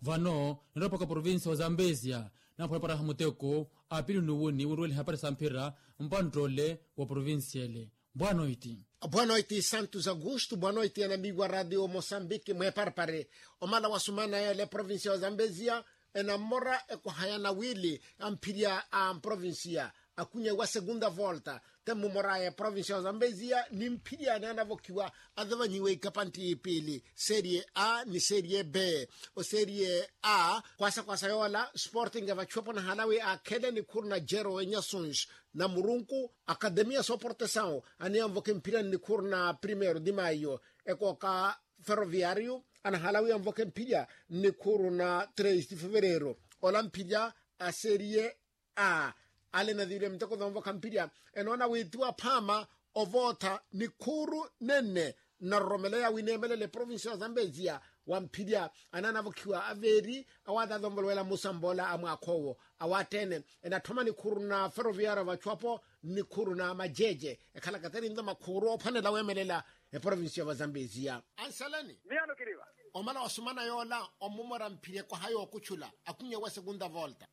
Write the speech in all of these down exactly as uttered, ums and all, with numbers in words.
Vano niroopaka provincia wa zambezia, nampwelepweraha muteko apili nuwuni wiruwela ihapari sa mphira. Mpanttole wa provincia ele. Bwanoiti. Bwanoiti santos augusto bwanoiti anamiwa radio mosambiki mweparpare. Omala wasumana yele provincia wa zambezia enammora ekwahayana wili amphirya a mprovincia. Akunya wa segunda volta temumoraya provincia wa zambezia ni mphirya anaanavokhiwa. Azavanyiwe ikapanti ipili serie a ni serie b. Oserie a kwasakwasa yoola sporting avachuwapo nahalawi akhele nikhuru na jero enyasunji na murunku akademia soportesawo aniyanvoke mphirya ni nikhuru na primeiro di maio. Ekooka ferroviario anahalawi anvoke mphirya ni nikhuru na tres de fevereiro. Ola mphirya a serie a ale nathivile muteko zoonvokha mphirya enoona wiitiwa phaama ovootha nikhuru nenne. Nnaroromeleya wineemelele provincia wa zambezia wa mphirya anaanavokhiwa aveeri awaatha azoonvolowela musamboola a mwaakha owo. Awaattheene enatthoma nikhuru na ferroviario vachuwapo nikhuru na majeje ekhalaka teri nto makhuuru oophwanela weemelela eprovincia va zambezia. Anseleni. Miyano kiriva. Omala wasumana yoola omumora mphirya ekwaha yookuchula akhunyewa segunda volta.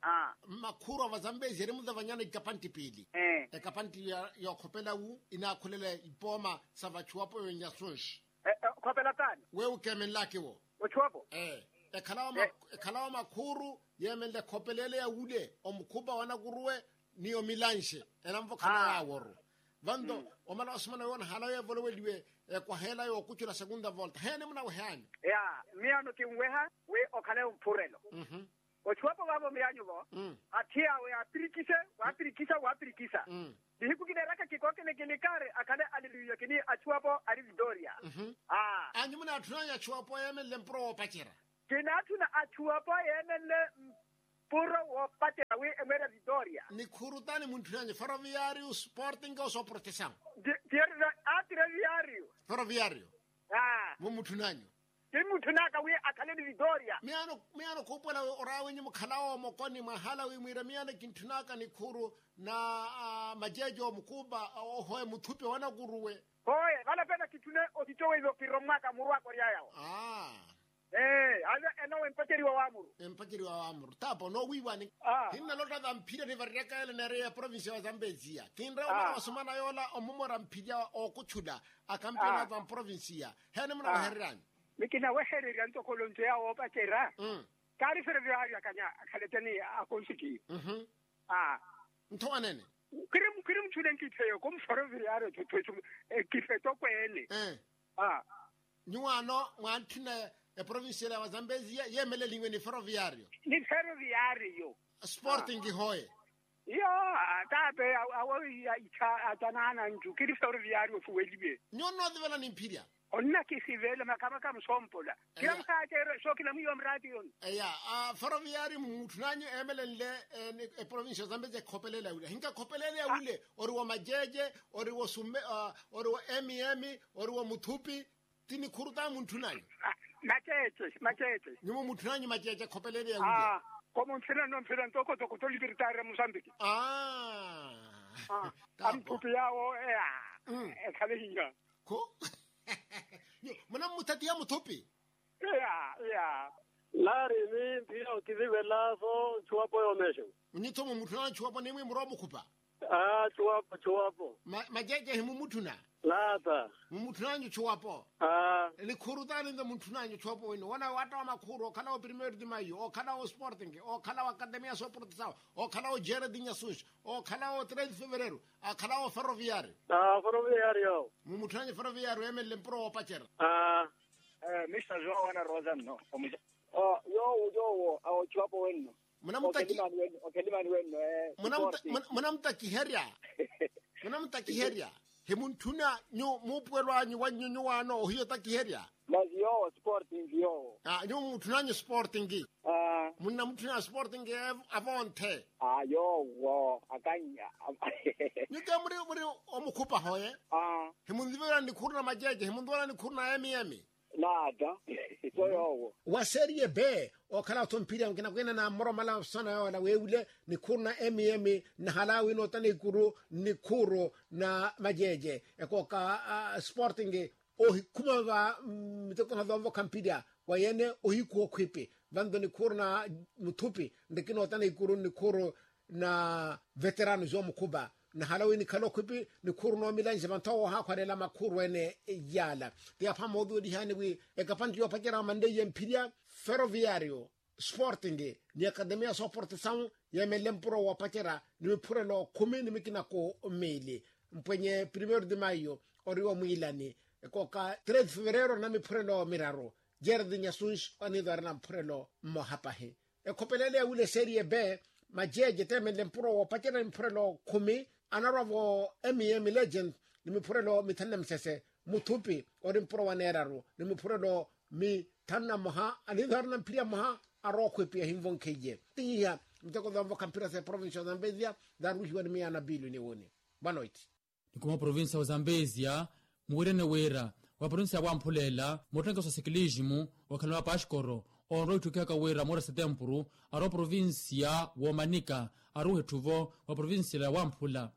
Mmakhuuru a vazambezi eri muzavanyana ikapantti piili. Ekapantti yookhopela wu inaakhulela ipooma sa vachuwapo yonyasunji. Khopela taani? Weewo keemenlaka ewo. Ochuwapo. Ekhalawa makhuuru yeemenle ekhopela ele ya wule omukhupa wanakuruwe ni omilanxe enanvokhana yaaworu. Vanto omala wasumana yoona halawe evoloweliwe ekwaha ela yookuchula segunda volta heeni munaweha anyu? Ya, miyano kinweha wi okhale omphurelo. Ochuwapo vaavo miyanyu vo atthi awe apirikise wapirikisa wapirikisa. Nihiku kineeraka kikookele kinikari akhale aleluya kini achuwapo ali vitoria. Anyu munaatthuna anyu achuwapo yeemenle mpuro woopacerya? Kinaatthuna achuwapo yeemenle mpuro woopacerya wi emweerya vitoria. Nikhuru taani muntthunanyu ferroviario sporting osoportesawo? Atire viario. Ferroviario. Mumutthunanyu? Kimmutthunaka wi akhale ni vitoria. Miyaano khuupuwela oraawenyu mukhala oomokoni mwahala wi mwiira miyaano kintthunaka nikhuru na majeje omukupa ohoye muthupi wanakuruwe. Hoye vale pena kitthune otitoweivo kirommwaka muru akoryaya wo. Aa. Ee ale enowa empaceriwa waamuru. Empaceriwa waamuru tapo noowiiwani. Hinnalotta vamphirya nivareryaka ele neereya eprovincia wa zambezia kinreya omala wasumana yoola omumora mphirya ookutthula akampeena va mprovincia. Heeni munawehereryanyu? Mikinawehererya ntoko lonto yaawo oopacerya. Kaari ferroviario akanya akhaleteni akonsikiyo. Ntho wanene. Kiri mutthule nkipheyo ko muferroviario. Kiphe tokweene. Nyuwaano mwaantthuna eprovincia ya vazambezia yeemeleliwe ni ferroviario. Ni ferroviario. Sporting hoye. Iyo. Taape awo. Atanaana ncu kiri ferroviario ofuweliwe. Nyuwo nnoosivela ni mphirya. Onnakisivela makama kamusompola. Kila musaacerya sookila mwiiwa muraatiyoni. Eya. Ferroviario mumutthunanyu eemelenle eprovincia ya zambezia ekhopeleela yawile ahinka ekhopeleela yawile ori wa majeje ori wa sume ori wa mm ori wa muthupi. Ti nikhuru taani muntthunanyu? Maceece maceece. Nyuwo mutthunanyu maceece ekhopeleele ya wile. Ko mumphira no mphira ntoko toko tolipiritaarira musambiki. Amuthupi yaawo eya. Ekhale hiya. Ko munammutthatiha muthupi. Iya iya. Laari ni mphira okivivela so nchuwapo yoomexewa. Nyutho mumutthunanyu nchuwapo nimwi muroomukhupa. Aa chuwapo chuwapo. Majeje himumutthuna? Laata. Mumutthunanyu chuwapo? Aa. Nikhuru taani nto mutthunanyu chuwapo wino wona watta wa makhuru okhala wo primeiro di maio okhala wo sporting okhala wo academia soportesawo okhala wo jere di nyasunxi okhala wo tres de fevereiro akhala wo ferroviario. Aa ferroviario. Mumutthunanyu ferroviario eemenle mpuro woopacera. Aa. Mista joão ana rosa nno. Yoowo yoowo awo chuwapo wenno. Munamutaki. Okhelimani wenno. Munamutakiherya. Munamutakiherya. Himuntthuna nyu muupuwelo anyu wannyu nyuwaano ohiyo otakiherya. Masi yoowo sporting yoowo. Nyuwo mumutthunanyu sporting. Munnamutthuna sporting. Avonthe. Yoowo akannya. Nyuke muri muri omukhupa hoye. Himunzivelani nikhuru na majeje himunzivelani nikhuru na emiyemi. Naata. So yoowo. Wa serie b okhala otho mphirya nkinakwina na mmoromala vasana yoola weewile nikhuru na mm nahalawi noota nikuru nikhuru na majeje ekooka sporting ohikhuma va mitekoha zoovokha mphirya wa yene ohikhuwa okhwipi. Vanto nikhuuru na muthupi nrikinootana ikuru nikhuuru na veterano zoomukhupha. Nahala wi nikhala okhwipi nikhuuru noomilanxe vantho woohaakhwalela makhuuru ene. Yaala ti apha mootuwelihani wi ekapanti yoopacerya manleiye mphirya ferroviario sporting ni akademia soporte sawu yeemenle mpuro woopacerya ni miphurelo khumi ni mikinako miili. Mpwenye primeiro de maio ori womwiilani kooka treze fevereiro na miphurelo miraru. Gerard nyasunshi aniitho ari na mphurelo mmoha pahi. Ekhopelele ya wile serie b majeje teemenle mpuro woopacerya ni miphurelo khumi anarwa-vo. Mem legend ni miphurelo mithanu na misese muthupi ori mpuro wa neeraru ni miphurelo mithanu na mmoha aniitho ari na mphirya mmoha. Arookhwipiya hinvonkhiye tiiha miteko zoonvokha mphira sa eprovincia ya zambezia zaruhiwa ni miyaana pilu ni wuni. Boa noite. Ni kuma oprovincia wa zambezia muwirene wira wa provincia ya wamphulela muttenkeso wa sikilisimu wakhala wa paskoro onrowa itthukihaka wira moora setempuru ari oprovincia woomanika aruuha etthuvo wa provincia ya wamphula.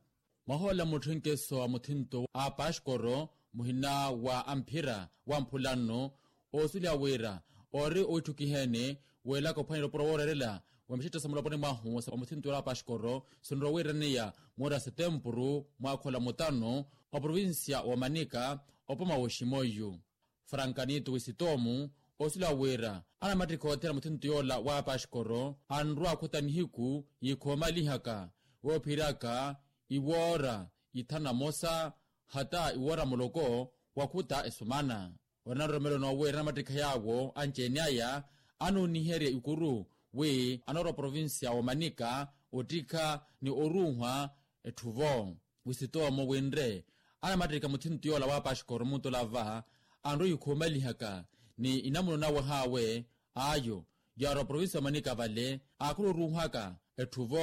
Mwahoolela muttenkeso wa muthinto a paskoro muhina wa amphira wamphula nno osuliha wira ori owitthukiheene weelaka ophwanela opuro wooreerela wa mixetta sa muloponi mwahu wa muthinto wa paskoro sinrowa wiiraneya moora setempuru mwaakhola mutano wa provincia wa manika opoma woximoyu. Frankanito wisitomu osuliha wira anamattikha othela muthinto yoola wa paskoro anrwa akhuta nihiku yikhoomalihaka woophiraka iwoora ithanu na mosa hata iwoora muloko wakhuta esumana. Ori na nroromelo noowiira anamattikha yaawo anci-ene aya anooniherya ikuru wi anoora oprovincia wa manika ottikha ni oruuhwa etthuvo. Wisitomo winre anamattikha muthinto yoola wa paskoro mutola va anrwa yikhuumalihaka ni inamuno nawe haawe ayo yaara oprovincia wa manika vale aakhula oruuhwaka etthuvo.